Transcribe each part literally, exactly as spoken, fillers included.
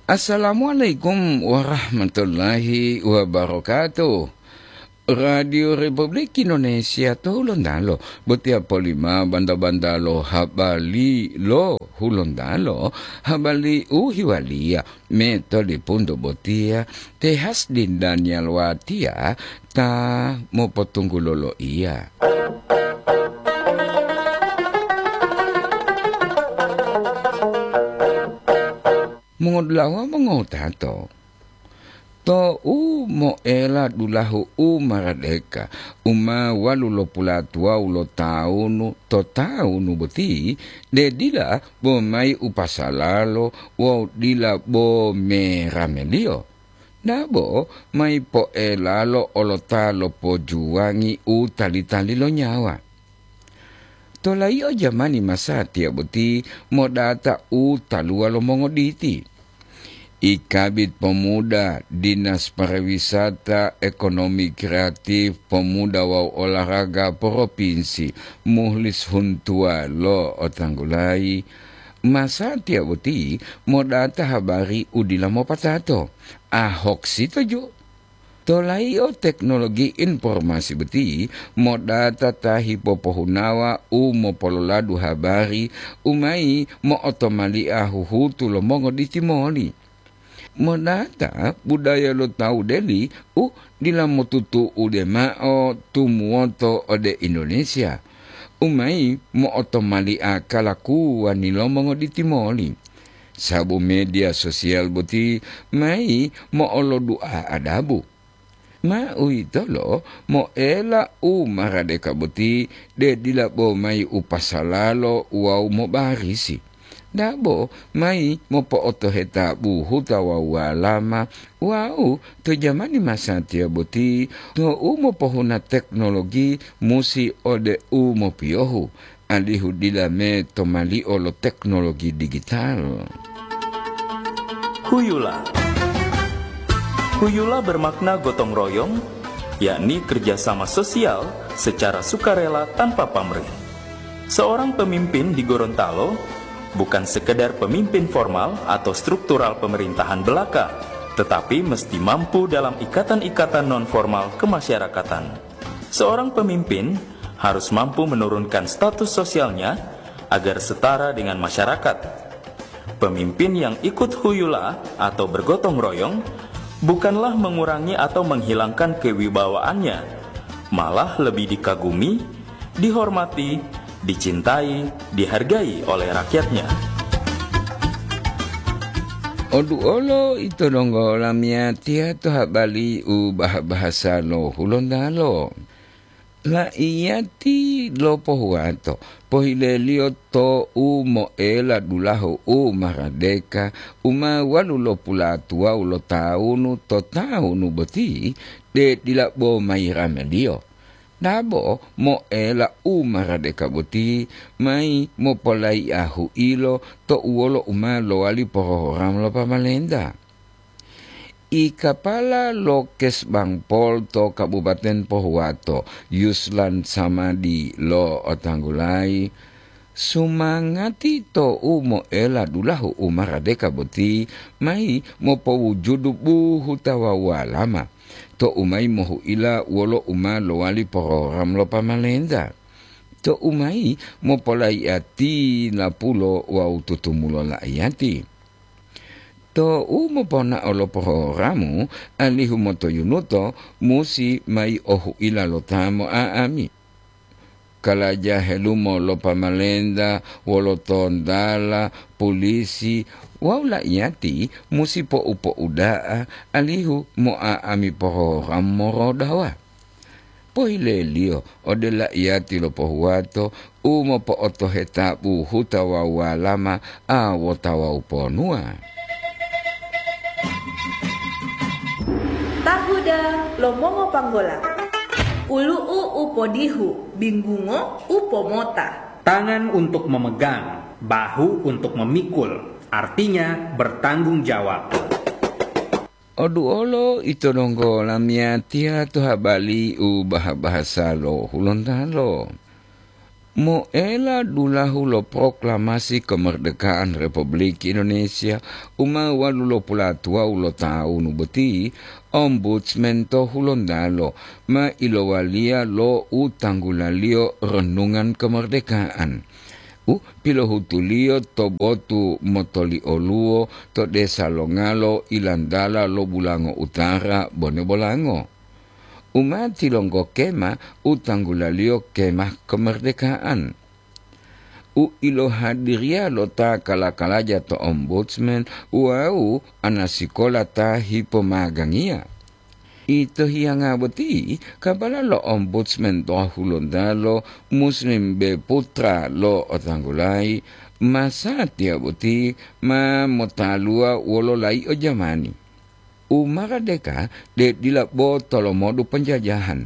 Assalamualaikum warahmatullahi wabarakatuh. Radio Republik Indonesia to Hulontalo, botiya polima banda-banda lo habari lo Hulontalo, habari u hiwaliya me to lipunto botiya, te Hasdin Daniel Watia ta mopotunggulo loiya. Mongodulawa mongowutato, to u moela dulahu u maradeka, u ma walu lo pulatuwawu lo tawunu to tawunu boti, de dila bo mayi u pasalalo wawu dila bo merameliyo. Dabo mayi poelalo olota lo pojuwangi u tali-tali lo nyawa. Tolayi'o jamani masatiya boti modata u taluwa lo mongoditi. I Kabid Pemuda, Dinas Pariwisata, Ekonomi Kreatif, Pemuda wawu Olahraga Propinsi, Muhlis Huntuwa lo otanggulayi, masatiya boti modata habari u dila mopatato. Ahok sitoju. Tolayi'o teknologi informasi boti modata ta hipopohunawa u mopololadu habari u mayi mo'otomalia huhutu lo mongoditi moli. Modata budaya lo tawu deli u dila motutu'ude ma'o tumuwoto ode Indonesia, u mayi mo'otomalia kalakuwani lo mongoditi moli. Sabu media sosial boti mayi mo'olodu'a adabu. Ma uwitolo moela u maradeka boti, de dila bo mayi u pasalalo wawu mobarisi. Dabo mayi mopo'otoheta buhuta wawu walama, wawu to jamani masatiya boti, to u mopohuna teknologi musi ode u mopiyohu, alihu dila me to malio lo teknologi digital. Huyula. Huyula bermakna gotong royong, yakni kerjasama sosial secara sukarela tanpa pamrih. Seorang pemimpin di Gorontalo bukan sekedar pemimpin formal atau struktural pemerintahan belaka, tetapi mesti mampu dalam ikatan-ikatan non-formal kemasyarakatan. Seorang pemimpin harus mampu menurunkan status sosialnya agar setara dengan masyarakat. Pemimpin yang ikut huyula atau bergotong royong bukanlah mengurangi atau menghilangkan kewibawaannya, malah lebih dikagumi, dihormati, dicintai, dihargai oleh rakyatnya. Oduolo ito donggo lamiyatiya to habari u bah-bahasa lo Hulontalo. La'iyati lopohuwato, pohileliyo to u moela dulahu u maradeka, u ma walu lopulatuwawu lo tawunu to tawunu boti, de dila bo mayi rameliyo. Dabo moela u maradeka boti mayi mopolayi'a hu'ilo to uwolo u ma lowali porohoramu lo pamalenta. I kapala lo Kesbangpol to Kabupaten Pohuwato, Yuslan Samadi lo'otanggulayi, sumangati to u moela dulahu u maradeka boti mayi mopowujudu buhuta wawu walama, to u mayi mohu'ila wolo u ma lowali porogram lo pamalenta, to u mayi mopolayi'a tilapulo wawu tutumulo la'iyati. To u moponao lo porogramu, alihu motoyunuto musi mayi ohu'ila lo ta mo'a'ami. Kalaja helumo lo pamalenta wolo tontala, pulisi, wawu la'iyati musi po'u-po'uda'a alihu mo'a'ami porogram morodawa. Pohileliyo ode la'iyati lo Pohuwato u mopo'otoheta buhuta wawu walama a wota wawu ponuwa. Tahuda lo mongopanggola. Ulu'u u podihu, binggungo u pomota. Tangan untuk memegang, bahu untuk memikul, artinya bertanggung jawab. Oduolo ito donggo lamiyatiya to habari u baha-bahasa lo Hulontalo. Moela dulahu lo proklamasi kemerdekaan Republik Indonesia u ma walu lo pulatuwawu lo tawunu boti, Ombudsman to Hulontalo ma ilowaliya lo u tanggulaliyo Renungan Kemerdekaan, u pilohutuliyo to botu motolioluwo to desa Longalo, Ilantala lo Bulango Utara, Bone Bolango. U ma tilonggo kema u tanggulaliyo Kemah Kemerdekaan, u ilohadiriya lo ta kala-kalaja to Ombudsman wawu anasikola ta hipomagangiya. Ito hiyanga boti, kabala lo Ombudsman to Hulontalo, Muslim B Putra lo Otanggulayi, masatiya boti ma motaluwa wolo layi'o jamani. U maradeka de dila bo tolomodu penjajahan,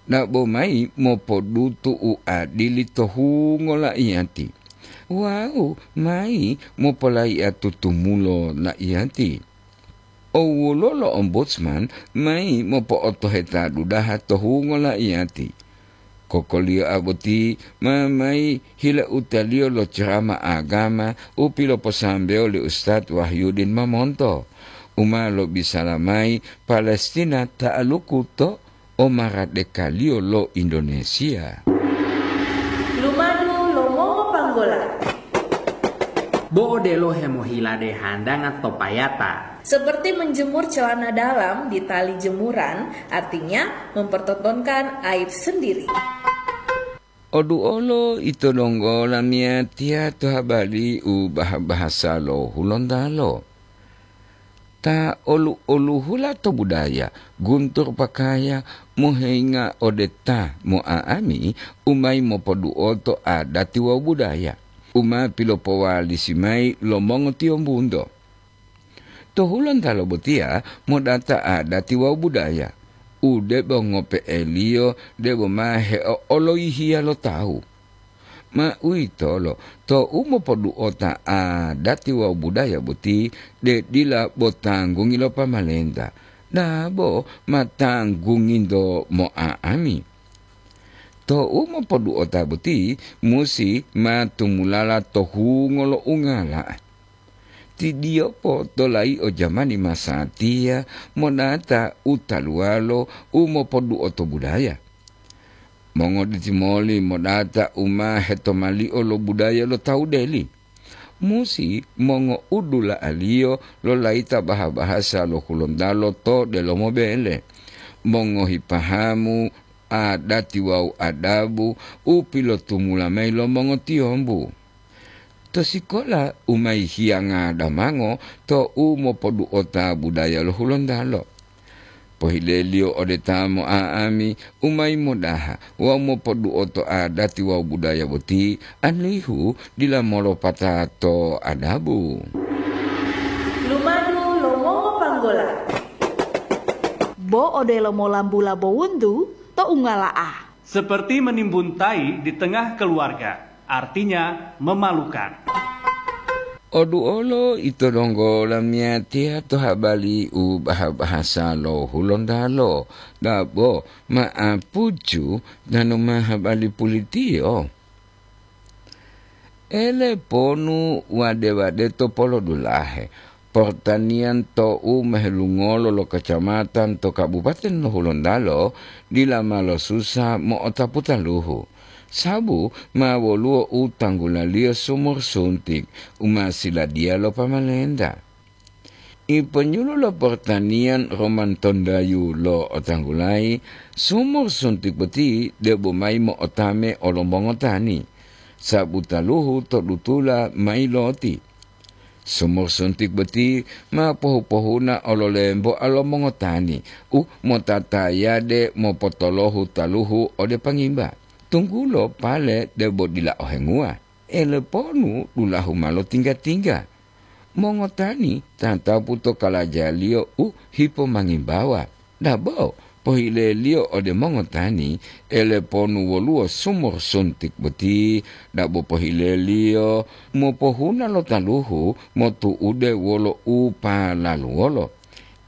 dabo mayi mopodutu u adili to hungo laiyati, wawu mayi mopolaiya tutumulo laiyati. Owulo lo Ombudsman mayi mopo'otoheta dudaha to hungo laiyati. Kokoliyoa boti ma mayi hilautaliyo lo cerama agama u piloposambewo li Ustad Wahyudin Mamonto, u ma lobisala mayi Palestina ta'aluku to omaradekaliyo lo Indonesia. Lumadu lo mongopanggola. Bo odelo hemohilade handanga to payata. Seperti menjemur celana dalam di tali jemuran, artinya mempertontonkan aib sendiri. Oduolo ito donggo lamiyatiya to habari u bah-bahasa lo Hulontalo. Ta olu-oluhula to budaya, guntur pakaya, moheinga ode ta mo'a'ami, u mayi mopoduoto adati wawu budaya, u ma pilopowalisi mayi lo mongotiyombunto. To Hulontalo botiya modata adati wawu budaya, u debo ngope'eliyo debo ma heo'oloyihiya lo tawu. Ma uwitolo, tou mopoduota adati wawu budaya boti, de dila bo tanggungi lo pamalenta, dabo ma tanggunginto mo'a'ami. Tou mopoduota boti musi ma tumulala to hungo lo ungala. Tidiyopo to layi'o jamani masatiya monata u taluwalo u mopoduoto budaya. Mongoditi moli modata u ma hetomali'o lo budaya lo tawu deli. Musi mongoudula'aliyo lo layita baha-bahasa lo Hulontalo to delomo bele, mongohi pahamu, adati wawu adabu u pilotumula mayi lo mongotiyombu. To sikola u ma yihiyanga damango tou mopoduota budaya lo Hulontalo. Pohileliyo ode ta mo'a'ami u mayi modaha wawu mopoduoto adati wawu budaya boti, alihu dila molopata to adabu. Lumadu lo mongopanggola. Bo odelo molambula bowuntu to ungala'a. Seperti menimbun tai di tengah keluarga, artinya memalukan. Oduolo ito donggo lamiyatiya to habari u baha-bahasa lo Hulontalo, dabo ma'apucu tanu ma habari pulitiyo. Ele ponu wade-wade to polodulahe, portaniyan tou mehelungolo lo kacamatan to kabupaten lo Hulontalo dila ma losusa mo'otapu taluhu, sabu ma woluwo u tanggulaliyo sumur suntik u ma siladiya lo pamalenta. Iponyulu lo portaniyan Roman Tondayu lo otanggulayi, sumur suntik boti debo mayi mo'otame olo mongotani, sabu taluhu to dutula mayi loti. Sumur suntik boti ma pohu-pohuna olo lemboa lo mongotani u motatayade mopotolohu taluhu ode pangimba, tunggulo pale debo dila ohenguwa. Eleponu dulahu ma lotingga-tingga. Mongotani tatapu to kalajaliyo u hipomangimbawa. Dabo pohileliyo ode mongotani, eleponu woluwo sumur suntik boti, dabo pohileliyo mopohuna lo taluhu motu'ude wolo u palaluwolo.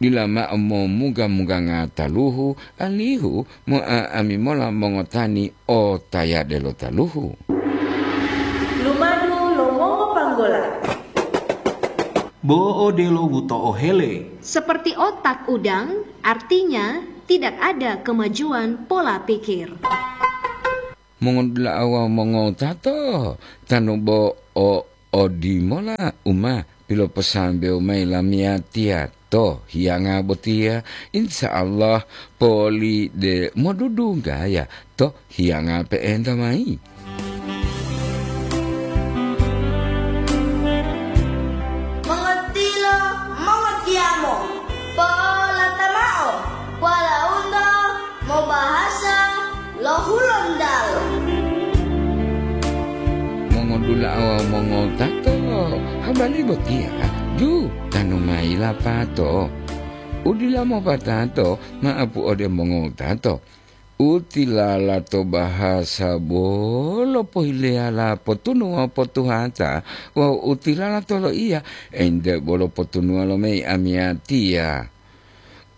Dila mao momuga-muganga taluhu, alihu mo'a'ami mola mongotani o tayade lo taluhu. Bo odelo buto'o hele. Seperti otak udang, artinya tidak ada kemajuan pola pikir. Mongodula'a wawu mongotato, tanu bo o odimola u ma piloposambewo mayi lamiyatiya to hiyanga botiya, insya Allah poli de modudunggaya to hiyanga pe'enta mayi. Mongotilo, mongotiyamo, po'olata mao, polaunto mobahasa lo Hulontalo. Mongodula'a wawu mongotato, habari botiya ju tanu mayi lapato. Udila mopatato, ma'apu ode mongotato. Utilala to bahasa bolo pohileyala potunu wawu potuhata, wawu utilala to loiya, ente bolo potunuwa lo mei amiyatiya.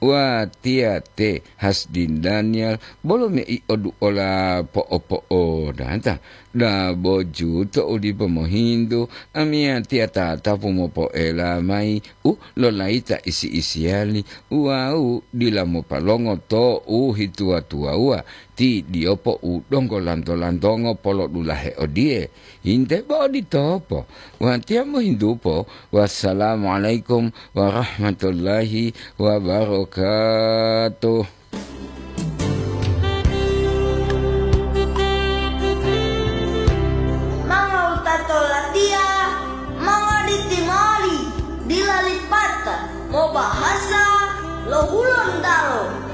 Watiya te Hasdin Daniel bolo mei oduola po'o-po'odata, dabo ju to u dipo mohintu, amiyatiya tatapu mopoela mayi u lolayita isi-isiyali wawu dila mopalongo to u hituwa-tuwawuwa, ti diyopo u donggo lanto-lantongo polodulahe odiye, "Hinte bo oditopo, watiya mohintupo, wassalamualaikum warahmatullahi wabarakatuh." Mangowutato latiya, mangoditimoli, dila lipata, mobahasa lo Hulontalo.